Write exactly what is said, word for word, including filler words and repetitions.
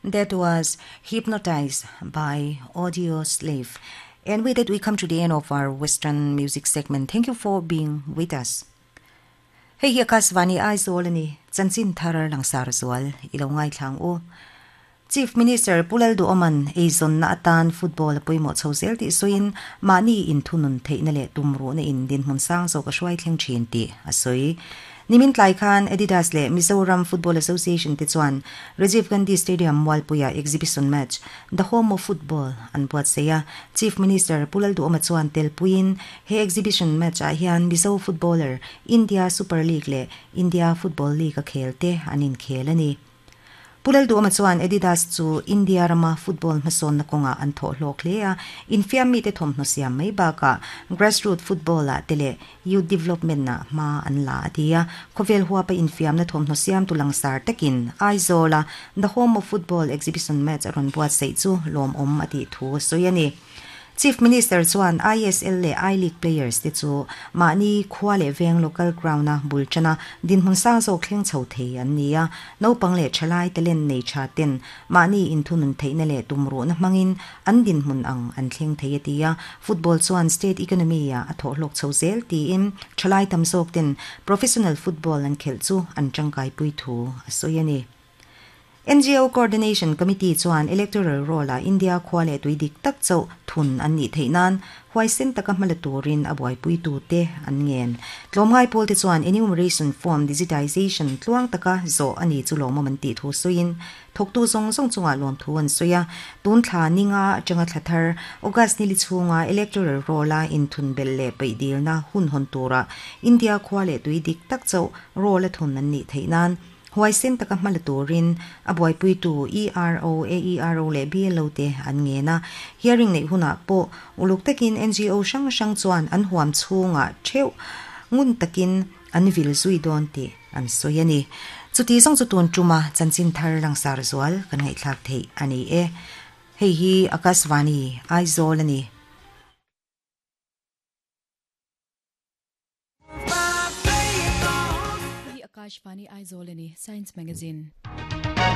That was Hypnotized by Audioslave. And with that, we come to the end of our Western music segment. Thank you for being with us. Hei hi Akashvani Aizawl ani chanchin thar langsar zual ilo ngai thlang u. Chief Minister Pu Lalduhoma'n eizawnna atan football a pawimawh chho zel tih sawiin mahni inthunun theihna leh tumruhna in dinhmun sang zawk a hruai thleng thin tih a sawi. Nimin tlai khan Adidas leh Mizoram Football Association te chuan Rajiv Gandhi Stadium Mualpuia exhibition match The Home of Football an buatsaih a. Chief Minister Pu Lalduhoma chuan telpuiin he exhibition match ah hian Mizo footballer India Super League leh India Football League a khel te an inkhel a ni. Pu Lalduhoma chuan Adidas chu India rama football hmasawnna kawngah an thawh hlawk hle a, infiam mite thawmhnaw siam mai bakah grassroot football ah te leh youth development ah hma an la a ti a. Khawvel huapa infiamna thawmhnaw siamtu langsar takin Aizawl a The Home of Football exhibition match a rawn buatsaih chu lawmawm a tih thu a sawi a ni. Chief Minister chuan I S L leh I League players te chu mahni khua leh veng local ground a bul tana dinhmun sang zawk thleng chho thei an ni a, naupang leh thalai talent nei tha ten mahni inthunun theihna leh tumruhna hmangin an dinhmun ang an thleng thei a ti a, football chuan state economy ah a thawhhlawk chho zel tiin thalai tam zawk ten professional football an khelh chu an tangkaipui thu a sawi a ni. N G O Coordination Committee chuan Electoral Roll-a India khua leh tui dik tak chauh thun an nih theih nan huaisen taka hmala turin a buaipui tute an ngen. Tlawmngai pawl te chuan enumeration form digitization tluang taka zawh a ni chu lawmawm an tih thu sawiin thawktu zawng zawng chungah lawm thu an sawi a. Tun thla ninga atanga thla thar August nili chhunga Electoral Roll-a inthun belh leh peih dilna hun hawn tura India khua leh tui dik tak chauh roll-a thun an nih theih nan huaisen taka hmala turin a buaipui tu E R O, A E R O leh B L O te an ngen a. Hearing nei hunah pawh uluk takin N G O hrang hrang chuan an huam chhungah theuh ngun takin an vil zui dawn tih an sawi a ni. Chuti zawng chu tun tuma chanchin thar langsar zual kan ngaihthlak theih a ni e. Hei hi Akashvani Aizawl a ni. Akashvani Aizawl ani Science Magazine.